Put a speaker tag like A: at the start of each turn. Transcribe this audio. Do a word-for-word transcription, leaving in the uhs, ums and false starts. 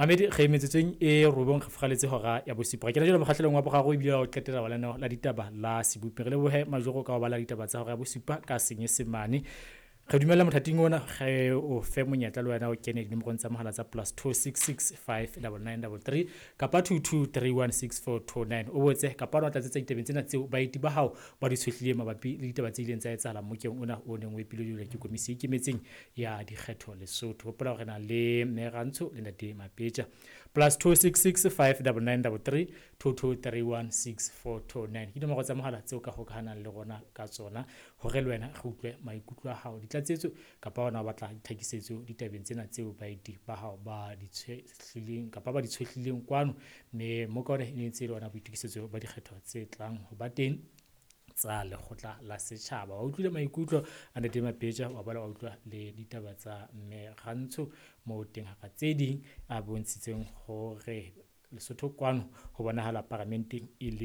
A: Mamedi re metsotsong e robong re furaletse hora ya bosupa. Re kena jwale mokgahlelong wa boraro ebile wa ho qetela wa lenaneo la ditaba la Sebopi. Re lebohe Majoro ka ho bala ditaba tsa hora ya bosupa ka Senyesemane. Re dumella mothating ona re o fe monyetla le wena o kene dinomorong tsa mohala tsa plus two six six five double nine double three kapa two two three one six four two nine. O botse kapa o tlatsetsa ditabeng tsena tseo baeti ba hao ba di tshohlileng mabapi le ditaba tse ileng tsa etsahala mokeng ona o neng o epile jwale ke komisi e ikemetseng ya dikgetho Lesotho. Hopola hore re na le Mme Rantsho le Ntate Mapetja. Plus two six six five double nine double three two two three one six four two nine. Ke dinomoro tsa mohala tseo ka hokahanang le rona ka tsona hore le wena re utlwe maikutlo a hao, ditlatsetso kapa ona o batla ditlhakisetso ditabeng tsena tseo baeti ba hao ba di tshohlileng kapa ba di tshohlileng kwano. Mme moka ona e ne ntse e le ona boitokisetso ba dikgetho tse tlang ho ba teng tsa lekgotla la setjhaba. Wa utlwile maikutlo a Ntate Mapetja, wa boela wa utlwa le ditaba tsa Mme Rantsho moo teng hara tse ding a bontshitseng hore Lesotho kwano ho bonahala paramenteng e le